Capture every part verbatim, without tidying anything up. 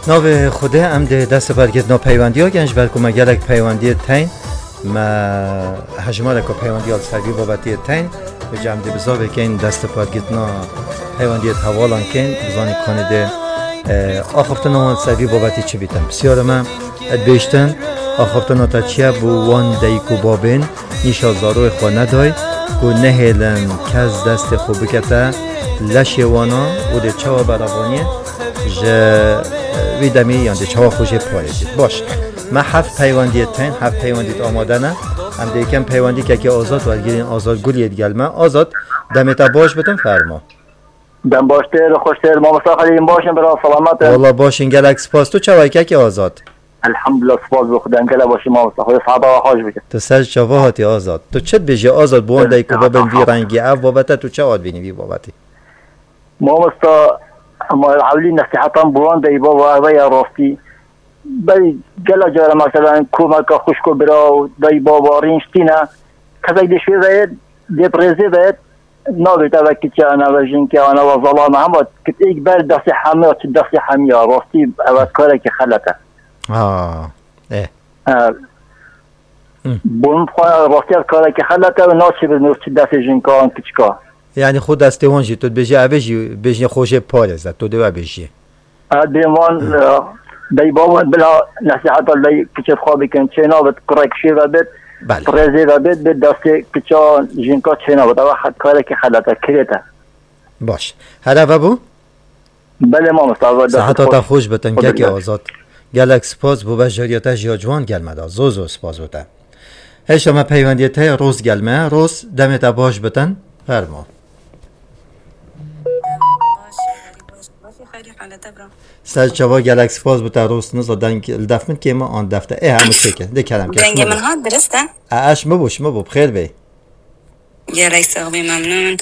Navê Xwedê, em dê dest bi wergirtina peywendiya gen, ji ber ku me gelek peywendiyê teyn, me hejmareka peywendiya li ser vî babetiyê teyn, vêca em dê bi zavê keyn dest bi wergirtina peywendiyê hevalan keyn, bizanî kanê dê, e, axaftina wan li ser vî babetî çi bîtin. Pisyara me, e, dibêjtin, axaftina te çi ye bo wan dayik û babên nîşa zaroyê xwe neday, ku nehêlin kes destê xwe bikete leşê wana û dê çawa berevaniyê ji, e, wî demî yan dê çawa xwe jê parêzît. Baş, me heft peywendiyê tên, heft peywendît amade ne. Em dê yekem peywendî kekê Azad wergirîn, Azad Guliyê digel me. Azad, demê te baş bitin, fermo. Dem baştir, xweştir, mamosta Xelîl, baş in, bira, selamet in. Walla baş in, gelek spas. Tu çawa yî kekê Azad? Elhamdulillah, spas bo Xwedê, em gelek baş in, mamosta. Xwedê siheta we xweş bike. Tu ser çava hatî Azad. Tu çi dibêjî Azad, bi wan dayik û babên vî rengî? Ev babete tu çawa dibînî vî babetî? Mamosta, ma ewlî nesîhetan bi wan dayik baba, ev e ya rastî. Belê gela cara, mesela, komeka xwişk û bira û dayik baba rîn ştîne. Kesek dê şwê ve yê, dê bi rêzê ve yê, nabêt eve kiçe, eve jinkê, eve zelame, hema kitêk ber destê hemiya, çi destê hemiya, rastî eve karekî xelet e. Ha, e. E, Hı. Bo min xwe rastî ev karekî xelet e û naçê bi mirov çi destê jinka an kiçika. Yani xwe destê wan jî, tu dibêjî, ev ê jî bêjinê xwe jê parêze, tu dê we bêjî. Ez dê wan, Hı. e, dayik baban bila nesîheta dayik kiçê xwe bikin, çê nabit, kurek şê ve bit, Belê. Rêzê ve bit, bit destê kiça jinka çê nabit. Ew he-, karekî xelet e, kirêt e. Baş. Here vebû? Belê mamosta, ve destê Seheta te xweş. Xweş bitin, Xwe kekê bikin. Azad. Gelek spas bo bejariya te jî ya ciwan gel me da. Zor zor spas bo te. Hêşa me peywendiyê te ye, Roz gel me. Roz, demê te baş bitin. Fermo. Ser çava gelek spas bo te, Roz, niza deng li def min kêm e, an def te. Ê, hemû çêke. De kerem ke, Dengê şima min bo. Hat, dirist e? E, eş mi bo, şima bo, bi xêr bê. Gelek sax bî, memnûn.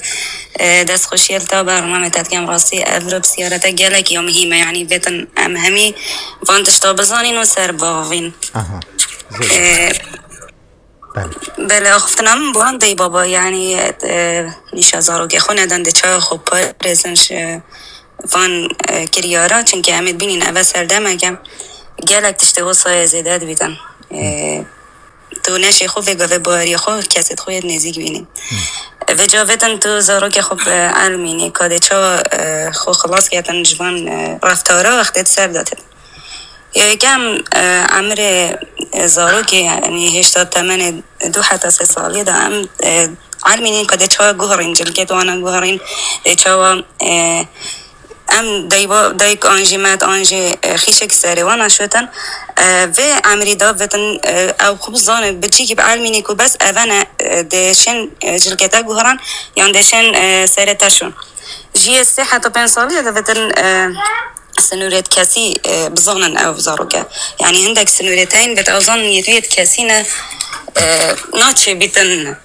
E, destxweşiya li te bernamê te dikem, rastî ev re pisyarete gelek ya muhîm e, yanî vêtin em hemî van tişta bizanîn û ser bavîn. Aha. Zor. E, Belê. Belê, axiftina min bi wan dey baba, yanî, e, nîşa zarokê xwe nedin, dê çawa xwe parêzin ji van, e, kiryara, çimkî em ê dibînin eve serdemeke gelek tiştê wisa yê zêde dibîtin. E, tu neşê xwe vê gavê baweriyê xwe kesê xwe yê nêzîk bînî. Vê cavêtin tu zarokê xwe bi elmînî, ka dê çawa, e, xwe xilas ketin ji van, e, reftara wextê di ser de têt. Yekem, e, emrê, e, zarokê, yanî hêşta temenê du heta sê saliyê de em, e, elmînîn ka dê çawa guherîn, cilkê wana guherîn, dê çawa, e, em dayba-, dayik an jî met an jî, e, xîşek serê wana şotin, e, vê emrî da vetin, e, ew xwe bizane, bi çîkî bi elmînî ku bes eve ne, e, dê şên, e, cilkê te guheran, yan dê şên, e, serê te şon. Ji yê sê heta pênc saliyê de vetin, e, sinûrêt kesî, e, bizanin ew zaroke. Yanî hindek sinûrêt heyîn, bet ew zanin yê tu yê kesî ne, e, naçê bîtin.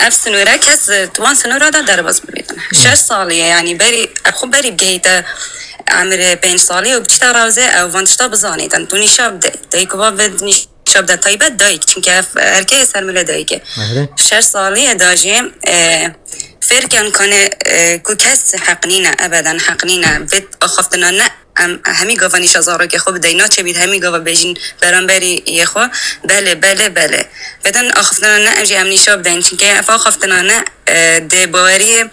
Ev sinûre kes, e, di wan sinûra de derbas bibîtin. Şeş salî ye, yanî berî, ev xwe berî bigehîte emirê pênc salî û biçîte rawzê ew van tişta bizanîtin. Tu nîşa bide. Dayik û bav nîşa bide. Taybet dayik, çimkî ev erkê ser milê dayikê. Şeş salî ye da jî, e, fêr ken kane, e, ku kes heq nîne, ebeden heq nîne. Vê axaftina ne em hemî gava nîşa zarokê xwe bideyî, naçe bît hemî gava bêjin beramberî yê xwe, belê, belê, belê. Vêden axaftina ne em jî em nîşa bideyîn, çimkî ev axaftina ne, e, dê baweriyê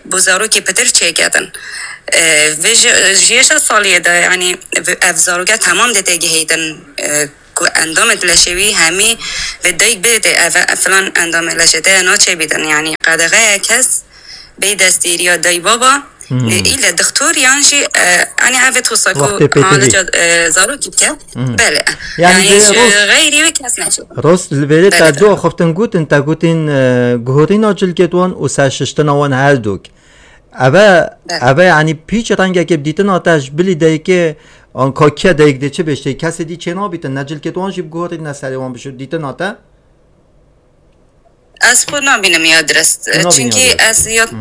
bo zarokê pitir çêketin. E, vê ji, ji yê şeş saliyê de, yanî, ev zaroke temam dê tê giheytin, e, ku endamê leşê wî hemî vê dayik bê tê, ev, filan endamê leşê te ya naçe bîtin, yanî, qedexe ye kes bê destêriya dayî baba, Hmm. ne île dixtor yan jî, e, hani ev wisa ku Wextê pêtivî. Halica, e, zarokî bike. Hmm. Belê. Yani Yani, vê ji roz- xeyrî wê kes neçe. Roz li vêrê Belê, te belê. Du axiftin gotin, te gotin, e, guhorîna cilkê wan û serşiştina wan her dûk. Eve, Belê. Eve yani pîç rengekê bi dîtina te ji bilî dayikê, an kakiye dayik dê çi bêjtê, kesê dî çê nabîtin, ne cilkê wan jî bi guhorî ne serê wan bişo dîtina te? Ez xwe nabînim ya dirist. Tu nabînî Çimkî ya dirist. Ez ya, Hmm.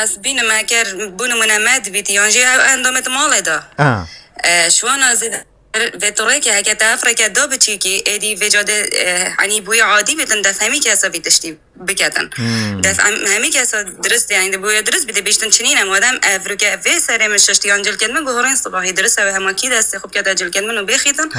Ez bînim eger bû nimûne me dibîtî, yan jî ew endamê di malê de. Ha. E, şwana zêde vê tu rêkê heke te ev rêke da biçîkî, êdî vê cadê, e, hani bûyî adî bîtin, def hemî kesa vî tiştî biketin. Def em hemî kesa dirist, yani, di boya dirist bide bêştin çinîne, madem ev ruke vê serê min şiştiyan cilkên min guhorên sibahî dirist ew hema kî destê xwe bikete cilkên min û bêxîtin,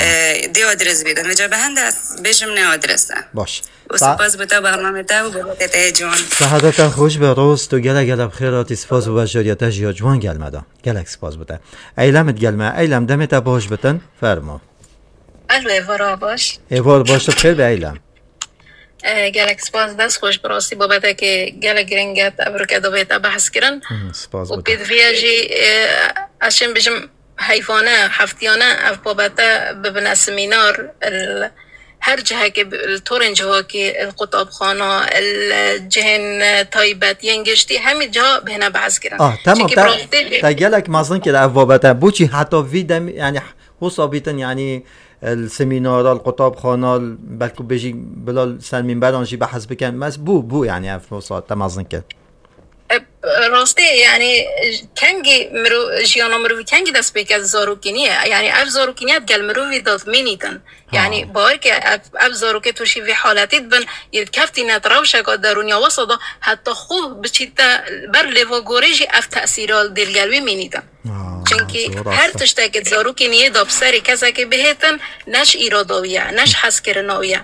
e, dê wa dirist bidin. Vêca bi hende ez bêjim ne wa dirist e. Baş. Û Sa- spas bo te, bernamê te û babetê te yê ciwan. Sehadeta xweş be, Roz, tu gelek gelek bi xêr hatî, spas bo beşdariya te jî ya ciwan gel me da. Gelek spas bo te. Eylem it gel me. Eylem, demê te baş bitin, fermo. Alo, êvara baş. Êvar baş, tu bi xêr be Eylem. E, gelek spas, dest xweş, bi rastî babetekê gelek giring e, ev rike divê te behs kirin. Hı, spas Û bo te. Pêdiviya jî, e, ez çim bijim heyvane, heftiyane ev babete bibine semînar, il, her cihekê bi, il torên civakî, il qutabxana, il cihên, e, taybet, yên giştî, hemî ciha bihêne behs kirin. Ah, tamam, Çimkî te, bi rastî te gelek mezin kir ev babete. Boçî heta vî dem, yani, hosa bîtin, yani, li semînara, li qutabxana, belkû bêjî bila li ser mînberan jî behs bikin. Mes bû, bû, yani, ev hosa te mezin kir. E, rastî, yani, kengî miro-, jiyana mirovî kengî dest pê ke zarokî niye. Yani, ev zarokî niye gel mirovî de mînîtin. Yani, Ha. Bawer ke ev, ev zarokê tu jî vê haletî dibin, yê keftîne di rewşeka derûniya wesa de, heta xwe biçîte ber lêva gorê jî ev tesîra dê li gel wî mînîtin. Ha, Çimkî zor her rast e. Tiştekê zarokê niyê de bi serê kesekê bihêtin, ne ji îrada wî ye, ne ji hezkirina wî ye.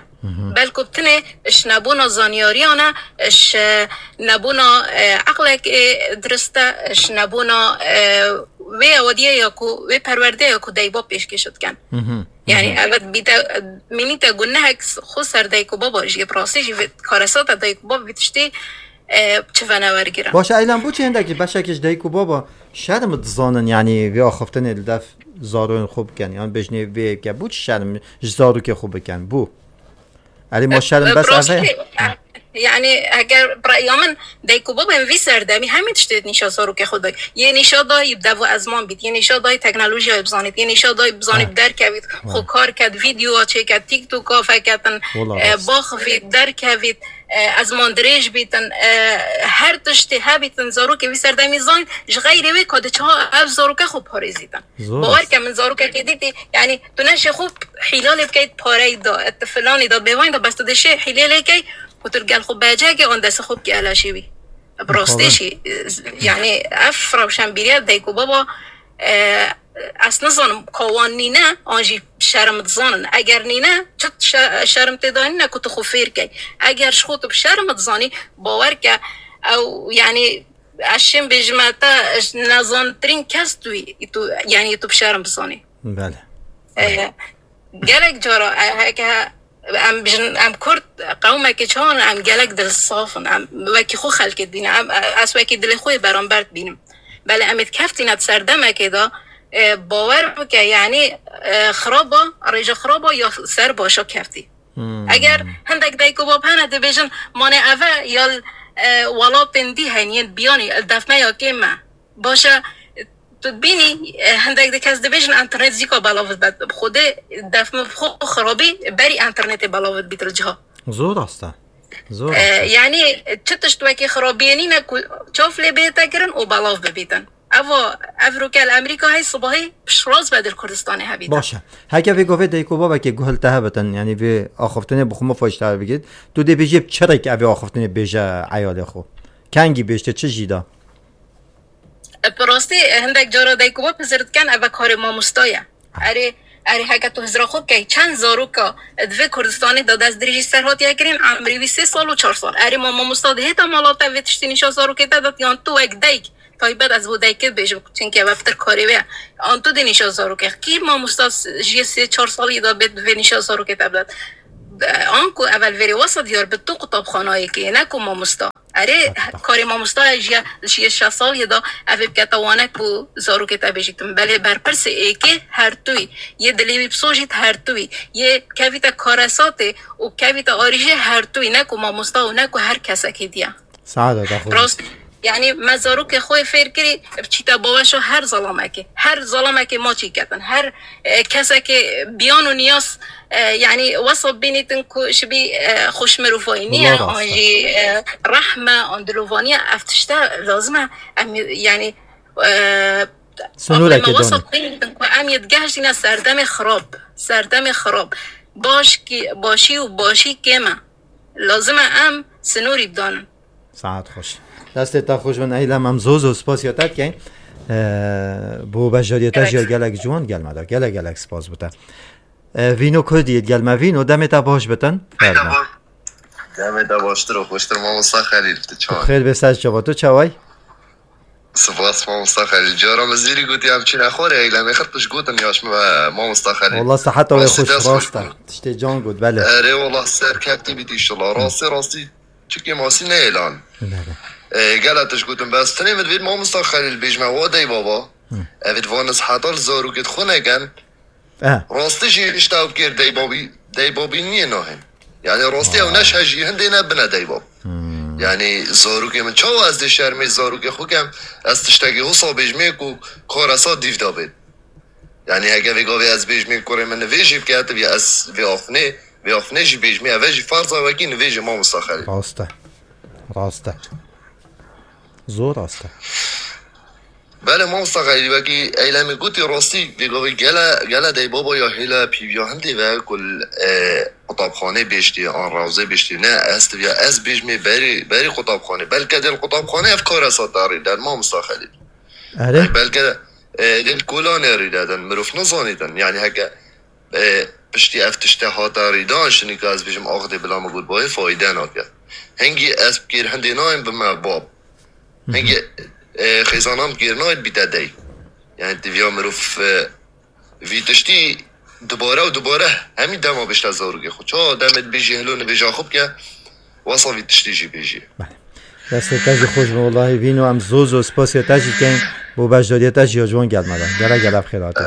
Belku bi tinê ji nebûna zanyariyan e, ji nebûna, e, eqlekê dirist e, ji nebûna, e, wê ewadiyê ya ku, wê perwerdeyê ya ku dayik bab pêşkêş dikin. Yani, evet, bîte, mînîte gunehek xwe ser dayik û baba jî, bi rastî jî vê karesata dayik û bab vî tiştî, e, çi venewergirin. Baş e, Eylem, boçî hindek ji beşekî ji dayik û baba şerm dizanin, yani, vê axiftinê li def zarokên xwe bikin, yan bêjinê vê yeke, boçî şerm ji zarokê xwe bikin? Bû. Erê, ma şerm bes ev e? Yani, eger bi reya min, dayik û babên vî serdemî hemî tiştê nîşa zarokê xwe dayî. Yê nîşa dayî bi dev û ezman bît, yê nîşa dayî teknolojiyayê bizanît, yê nîşa dayî bizanî bi derkevît, xwe kar ket, vîdyoa çêket, TikToka veketin, Wala e, rast. Baxivît, derkevît, e, ezman dirêj bîtin, e, her tiştê hebîtin, zarokê vî serdemî zanît, ji xeyrê wê ka diçiha ev zarokê xwe parêzîtin. Zor Bawer rast. Ke min zarokekê dîtî, yani, tu neşê xwe hîlalê bikeyt pareyî da, et filanî da, bêvanî da, bes tu dê şê hîlê lê key, ku tu gel xwe becekê, an destê xwe bikê elaşê wî. Bi rastî Mixabin. Jî, yani, ev rewşenbîriya dayik û baba, e, ez nizanim ka wan nîne, an jî şerm dizanin. Eger nîne, çi şe-, şerm tê de nîne ku tu xwe fêr key. Eger ji xwe tu bi şerm dizanî, bawer ke ew, yani, ez şên bêjime te, ji nezantirîn kes tu yî, tu, yani, tu bi şerm bizanî. Belê. E, gelek cara, e, heke em bijin, em Kurd qewmekî çawan, em gelek dilsaf in, em wekî xwe xelkê dibînin, em, ez wekî dilê xwe yê beramber dibînim. Belê em ê dikeftîne di serdemekê de, e, bawer bike, yanî, e, xiraba, rêje xiraba ya ser başa keftî. Hmm. Eger hindek dayik û bab hene dibêjin, mane ev e ya, e, welatên dî hene yên biyanî, li def me ya kêm e. Baş e, tu dibînî, e, hindek di kes dibêjin, enternet zîka belav dibet. Bi Xwedê def min bi xwe xirabî berî enternetê belav dibît li ciha. Zor rast e. Zor E, rast e. Yanî çi tişt wekî xirabiyê nîne ku çav lê bihête kirin û belav bibîtin. Ev, ev roke li Amerîka hey sibahî piştrast be di Kurdistanê hebîtin. Baş e. Heke vê govê dayik û babekê guh li te hebitin, yanî vê axiftinê bi xwe mifayîşte bigît, tu dê bêjî bi çi rêk evê axiftinê bêje eyalê xwe? Kengî bêjte çi jî da? Bi rastî, hindek cara dayik û bab hizir dikin, ev karê mamosta ye. Erê, erê, heke tu hizra xwe bikey, çend zaroka di vê Kurdistanê de destdirêjî ser hatiye kirin, emrî wî sê sal û çar sal. Erê, ma mamosta dihête mala te vê tiştî nîşa zarokê te dat, yan tu wek dayik, taybet ez bo dayikê dibêjim, çimkî ev pir karê wê ye. An tu dê nîşa zarokê. Kî mamosta s-, jiyê sê çar salî de bê vê nîşa zarokê te bidet? Anku evel vêrê wesa diyar bi tu qutabxanayekê, ne ku mamosta. Erê, karê mamosta ye, ji, ji şeş salî de ev ê bikete wane ku zarokê te bêjîtin. Belê berpirsê êkê her tu yî, yê dilê wî bisojît her tu yî, yê kevîte karesatê û kevîte arîjê her tu yî, ne ku mamosta û ne ku her kesekî diye. Saada da xwe. Rast, yanî me zarokê xwe fêr kirî, biçîte baweşa her zalamekê. Her zalamekê maçî ketin. Her, e, kesekê biyan û niyaz, e, yanî wesa bînîtin ku ji bî, e, xweşmirovayî niye, Wala rast e. An jî, e, rehme, an dilovaniye, ev tişte lazim e. Em, yanî, e, Sînoreke aqlê me wesa danî. Bînîtin ku em yê digehiştîne serdemê xirab. Serdemê xirab. Baş kî, başî û başî kêm e. Lazim e em Sinorî bidanin. Saet xweş. Destê te xweş bin Eylem, em zor zor spasiya te dikeyn. Ee, bo beşdariyê te jî ya gelek ciwan gel me da. Gelek gelek spas bo te. Ee, Vîno Kurdî yê gel me. Vîno, demê te baş bitin. Fermo. Demê te baştir û xweştir mamosta Xelîl. Tu çawa? Xêr bê, ser çava. Tu çaway? Spas mamosta Xelîl. Cara min zîrî gotî em çîne xwarê Eylemê xir tu ji gotin yaş min ve mamosta Xelîl. Wallah seheta wê xweş, rast e. Tiştê can got, belê. Erê wallah serkeftî bît inşallah. Rastî rastî. Çikê masî neyê lan. Belê. E, gela tişt gotin, bes tenê min divêt mamosta Xelîl bêjme wa dey baba. Hı. Evê divan ez heta li zarokê xwe neken. E. Rastî jî işte ew kêr dey babî, dey babî niyê nahên. Yani rastî ew neşe jî hindê ne bine dey bab. Hmm. Yani zarokê min çawa ez dê şermê zarokê xwe kem, ez tiştekî wisa bêjmê ku karesa dîv de bêt. Yani heke vê gavê ez bêjmê kurê min nivêjî bike, tu bî ez vê axnê, vê axnê jî bêjmê, eve jî ferza wekî nivêjê mamosta Xelîl. Rast e. Rast e. Zor rast e. Belê mamosta Xelîl, wekî Eylemê gotî rastî, vê gavê gele, gele dey baba ya hêla pîviya hindê ve ku li, e, qutabxanê bêştî, an rewzê bêştî, ne ez tiviya, ez bêjmê berî, berî qutabxanê. Belke dê li qutabxanê ev karesa tarî der mamosta Xelîl. Erê. Belke, e, dê li kolanê rî dedin, mirov nizanîtin. Yani heke, e, piştî ev tişte hate rîdan, şinî ka ez bêjim axdê bila min got bayê fayde nake. Hingî ez bi kêr hindê nayêm bi me bab. Hingî, e, xêzanan bi kêr nayên bîte dey. Yani tiviya mirov, e, vî tiştî dubare û dubare hemî dema bêşte zarokê xwe. Ça demê dibêjî hilo nivêja xwe bike, wesa vî tiştî jî bêjî. Belê. Destê te jî xweş bin, wellahî Vîno, em zor zor spasiya te jî dikeyn, bo beşdariya te jî ya ciwan gel me da. Gele gele bi xêr hatî.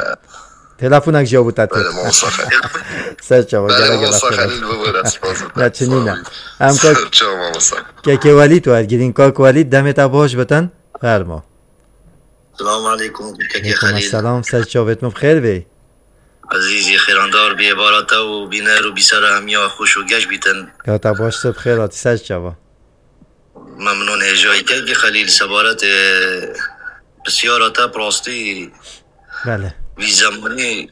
Telefonek jî ya bo te têt. Belê, mamosta Xelîl. Ser çava, gele gele bi xêr hatî. Belê, mamosta Xelîl, bibûre, spas. Ne çinî ne. Em kak, ser çava, mamosta. Kekê Welîd wergirîn, kak Welîd, demê te baş bitin. Fermo. Selamun aleykum, kekê Xelîl. Selam, ser çavêt min bi xêr bê. Ezîzî, xêrandar bê, bara te û bîner û bîsera hemiya xweş û geş bîtin. Ya te baştir, bi xêr hatî, ser çava. Memnûn hêjayî, kekê Xelîl, sebaret, e, pisyara te bi rastî. Belê. Vî zemanî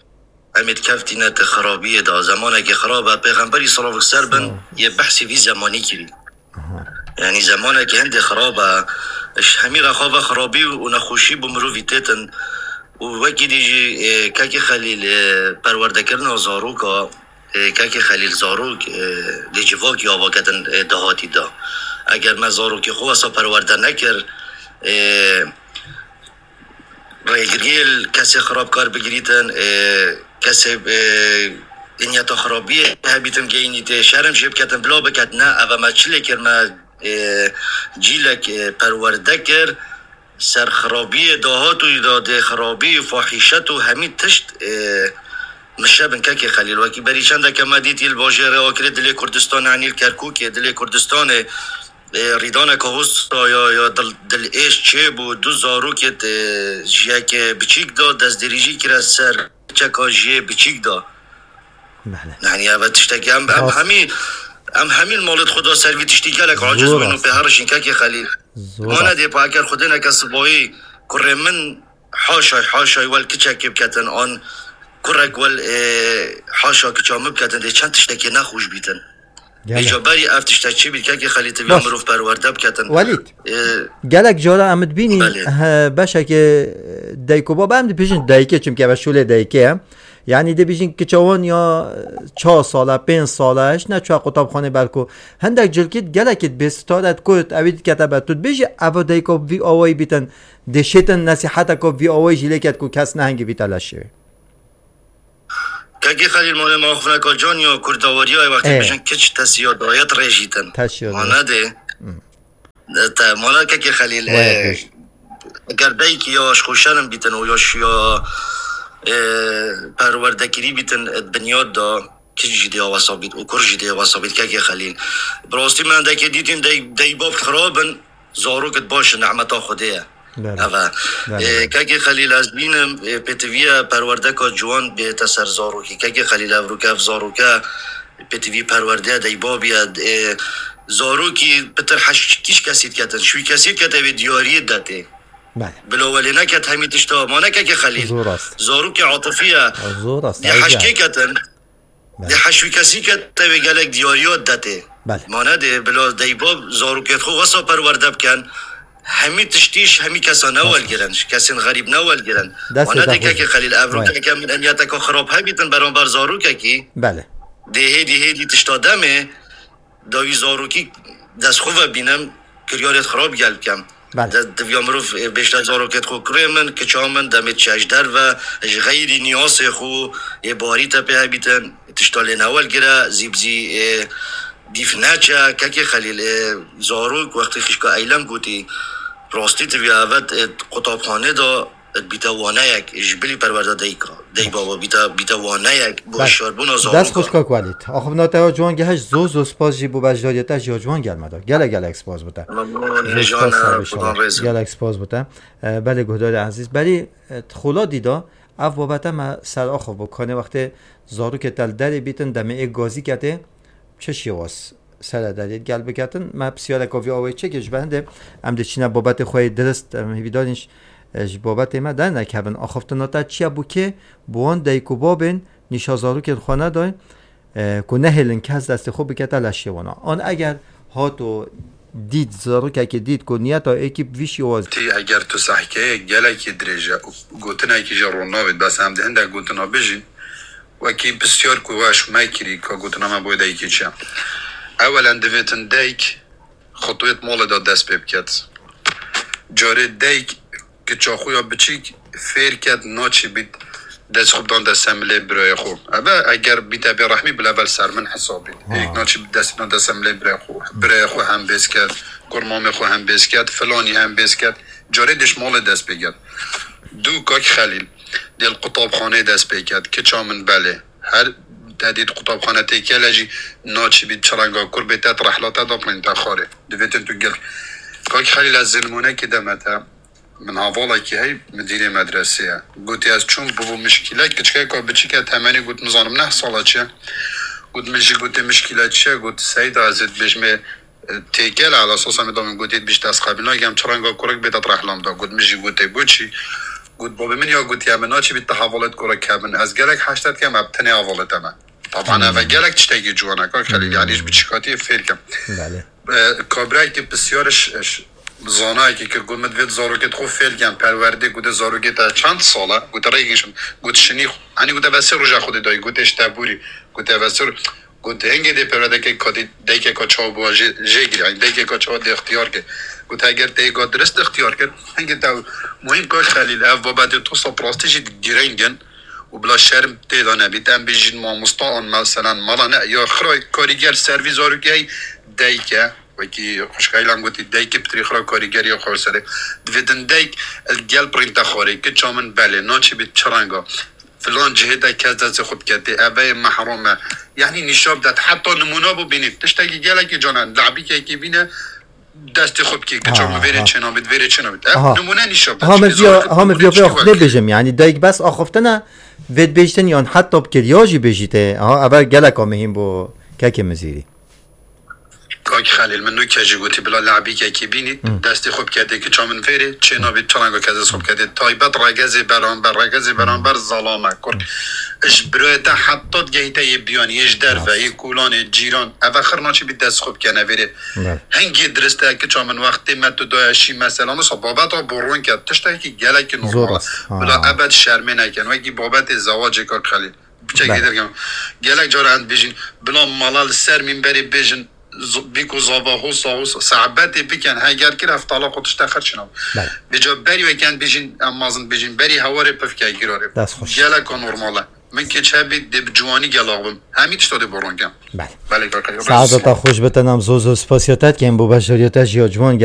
em ê dikeftîne ti xirabiyê de. Zemanekî xirab e. Pêxemberî, silavek ser bin, yê behsî vî zemanî kirî. Aha. Yani zemanekî hindê xirab e. Ji hemî re xwe ve xirabî û nexweşî bi mirovî têtin. Û wekî dî jî, e, kekê Xelîl, e, perwerdekirina zaroka, e, kekê Xelîl, zarok, e, dê civakî ava ketin, e, dahatî de. Eger me zarokê xwe wesa perwerde nekir, e, rêgiriyê li kesê xirabkar bigirîtin, e, kesê, e, niyeta xirabiyê hebîtin geyînîtê, şerm jê biketin, bila biketin, ne, ev me çi lê kir, me, e, cîlek, e, perwerde kir, ser xirabiyê dahat û îdadê xirabî, fahîşet û hemî tişt, e, mişe bin kekê Xelîl. Wekî berî çendeke me dîtî li bajêrê Akirê dilê Kurdistanê, enî li Kerkûkê dilê Kurdistanê, e, rîdaneke hosta ya, ya dil, dilêş çêbû, du zarokê, e, ji yekê biçîk da, destdirêjî kire ser çeka ji yê biçîk da. Belê. Yani ev tiştekî em, em hemî, em hemî li malê xwe da ser vî tiştî gelek aciz bûn û pê herişîn kekê Xelîl. Zor. Ma nedê pa eger xwedêneke sibayî kurê min haşay, haşay wel kiçekê biketin, an kurek wel, e, haşa kiça min biketin, dê çend tiştekê nexweş bîtin. Gelek. Îca berî ev tişte çi bît, kekê Xelîl, tiviya mirov perwerde biketin. Welîd, e, gelek cara em dibînîn, belê, he, beşekê dayik û baba, em dibêjin dayikê, çimkî ev şûlê dayikê ye. Yani dibêjin kiça wan ya çar sal e, pênc sal e, hiç neçûye qutabxanê belko. Hindek cilkî gelekî bêsitare digot, ewî dikete ber. Tu dibêjî ev dayika vî awayî bîtin, dê şêtin nesîheteka vî awayî jî lê ket ku kes nehingî bîte leşê wê. Kekê Xelîl, malê me axifneka can ya kurdawariyayê wextê, ê, bêjin kiç tesiya dayet rêjîtin. Tesiya dayet. Ma nedê. Hmm. Te, mala kekê Xelîl, waya, e, pêş. Eger dayikî ya ji xwe şerm bîtin û ya şiya, e, perwerdekirî bîtin, e, di binyat da kiç jî dê wesa bît û kur jî dê wesa bît, kekê Xelîl. Bi rastî me hindekê dîtin dey, dey bab xirab in, zarok di baş in, nehmeta Xwedê ye. Belê. Ev e. Belê, e, belê. Kekê Xelîl, ez bînim, e, pêtiviye perwerdeka ciwan bête ser zarokî. Kekê Xelîl, evroke ev zaroke pêtivî perwerdeye, dey babî ye. E, zarokî pitir heşt kîş kesî diketin. Şûy kesî dikete wê diyariyê detê. Belê. Bila welê neket hemî tişta. Ma ne kekê Xelîl. Zor rast. Zarokê atifî ye. Zor rast. Dê heşkê ketin. Belê. Dê heşwî kesî kete wê gelek diyariya detê. Belê. Mane dê bila deyba zarokêt xwe wesa perwerde bikin. Hemî tiştî ji hemî kesa ne welgirin, ji kesên xerîb ne welgirin. Destê Mane te dê xweş kekê be. Xelîl, ev Vay. Rûkeke min eniyeteke xirab hebîtin beramber zarokekî. Belê. Dê hêdî hêdî tişta demê dawî zarokî dest xwe ve bînim, kiryarêt xirab gel bikim. Belê. De-, divya mirov, e, bêjte zarokêt xwe kurê min, kiça min, demê çi ji derve, ji xeyrî niyasê xwe, ê barî te pê hebîtin, tişta lê newelgire, zî bi zî, e, dîf neçe, kekê Xelîl, e, zarok wextê xişka Eylem gotî, rastî tiviya evet, e, qutabxanê de, e, bîte waneyek, ji bilî perwerda deyka, dey baba, bîte, bîte waneyek, bo Belê. Hişyarbûna Dest zarokê. Xweş kak Welîd. Axivna te ya ciwan gehişt, zor zor spas jî bo beşdariya te jî ya ciwan gel me da. Gelek gelek spas bo te. Zor spas, sağ ol, inşallah. Gelek spas bo te. E, belê guhdarê ezîz. Belê, e, xola dîda, ev babete me ser axo bû. Kanê wextê zarokê te li derê bîtin, demê ê gazî ketê, çi şêwaz sere derê gel biketin. Me pisyareka vî awayî çekê ji ber hindê em dê çîne babetê xwe yê dirist, em hêvîdarîn ji, e, ji babetê me dernekevin. Axiftina te çi ye bû kê? Bi wan dayik û babên nîşa zarokên xwe neday, e, ku nehêlin kes destê xwe bikete leşê wan. An eger hato dît, zarokekê dît ku niyeta êkî bi vî şêwazî. Tî eger tu sehkeyê gelekî dirêj e û gotinekî jî ron navêt, bes em di hindek gotina bijîn, wekî pisyar ku weş me kirî, ka gotina me bo dayikê çi ye? Ewelen divêtin dayik xutwêt malê de dest pê biket. Carê dayik kiça xwe ya biçîk fêr ket, naçî bît dest xwe bidan dest milê birayê xwe. Eve eger bîte bê rehmî, bila vel ser min hesabî. Ha. Êk naçî bît dest bidan dest milê birayê xwe. Birayê xwe hem bêz ket, kurmamê xwe hem bêz ket, filanî hem bêz ket. Carê dêş malê dest pê ket. Du kak Xelîl, dê li qutabxanê dest pê ket, kiça min belê. Her te dît qutabxane tê kele jî naçî bît çi renga kur bê te rehla te da peyntexarê. Divêtin tu gel. Kak Xelîl, ez zilmûnekî deme te. Min hevalekî hey, midîrê medresê ye. Gotî ez çûm bûbû mişkîle, kiçikeka biçîk e, temenî got nizanim neh sala çi ye. Got min jî gotê mişkîle çi ye, got Seyda ez ê dibêjmê, e, têkel e, ala sosa min da min gotî dibîşt ez qebîl nakem, çi renga kurik bêta rehlam da. Got min jî gotê bo çî? Got babê min ya gotiye min naçî bît te hevalêt kurik hebin. Ez gelek heşte dikem, ev tenê hevalê te me. Taban eve gelek tiştekî ciwan e, kak Xelîl, yanî ji biçîkatiyê fêr kem. Belê. E, kabirayekî pisyar ş-, ş-, zanayekî kir, got min divêt zarokêt xwe fêr kem, perwerdê, gote zarokê te çend sal e? Gote rêgin şim, got şinî xwe. Hanî gote ve sê roja xwe dê dayî, gote ji te bûrî, gote ve sê ro-, got hingê dê perwerdeke kadî, daykeka çawa bûa jê, jê girî, yanî daykeka çawa dê ixtiyar kir. Got eger te êga dirist ixtiyar kir, hingê te muhîm kak Xelîl, ev babetê tosa bi rastî jî girîng in. û bila şerm tê de nebît. Em bêjin mamosta an meselen mala ne ya xira karîger servî zarokê hey dayik e. Wekî xwişka Îlan gotî dayikê pitirî xira karîger ya xwe serê. Divêtin dayik li gel pirînte xwarê kiça min belê naçî bît çi renga. Filan cihê de kes destê xwe diketê. Eve yê mehrum e. Yanî nîşa bidet. Heta nimûna bû bînît. Tiştekî gelekî can e. Labîkekî bîne destê xwe bikê, kiça min vêrê çênabit, vêrê çênabit. Ev nimûne nîşa bide. Ha, me viya, ha, me viya vê axiftinê bêjim. Yanî dayik bes axiftin e, vê dibêjtin yan heta bi kirya jî bêjî tê. Ha, ev geleka mihîm bû kekê Mizîrî. Kak Xelîl, min nûke jî gotî, bila labîkekî bînî, destê xwe biketê, kiça min vêrê çênabit, çi renga kes dest xwe biketê. Taybet regezê beramber, regezê beramber zalame, kur. Ji birayê te heta digehîte yê biyanî, yê ji derve, yê kolanê, cîran, eve xir naçî bît dest xwe bikene vêrê. Hingê dirist e kiça min wextê me tu daya şî mesela, wisa babeta bo rûn ke tiştekî gelekî normal e. Bila ebed şermê nekin. Wekî babetê zewacê kak Xelîl. Piçekê derkevin. Gelek cara em dibêjin, bila mala li ser mînberê bêjin, z-, bîko zava hosa hosa, sehabetê bikin, heger kir heftala xwe tişte xerçina. Vêca berî weke em dibêjin, em mazin dibêjin, berî hewarê pifke girarê. Geleka normal e. Min kê çi hebî dê bi ciwanî gelax bim. Hemî tişta dê bo rûn kem. Belê. Belê kaka. Saeta te xweş be, te nam zor zor spasiya te dikim bo beşdariya te jî ya ciwan gel.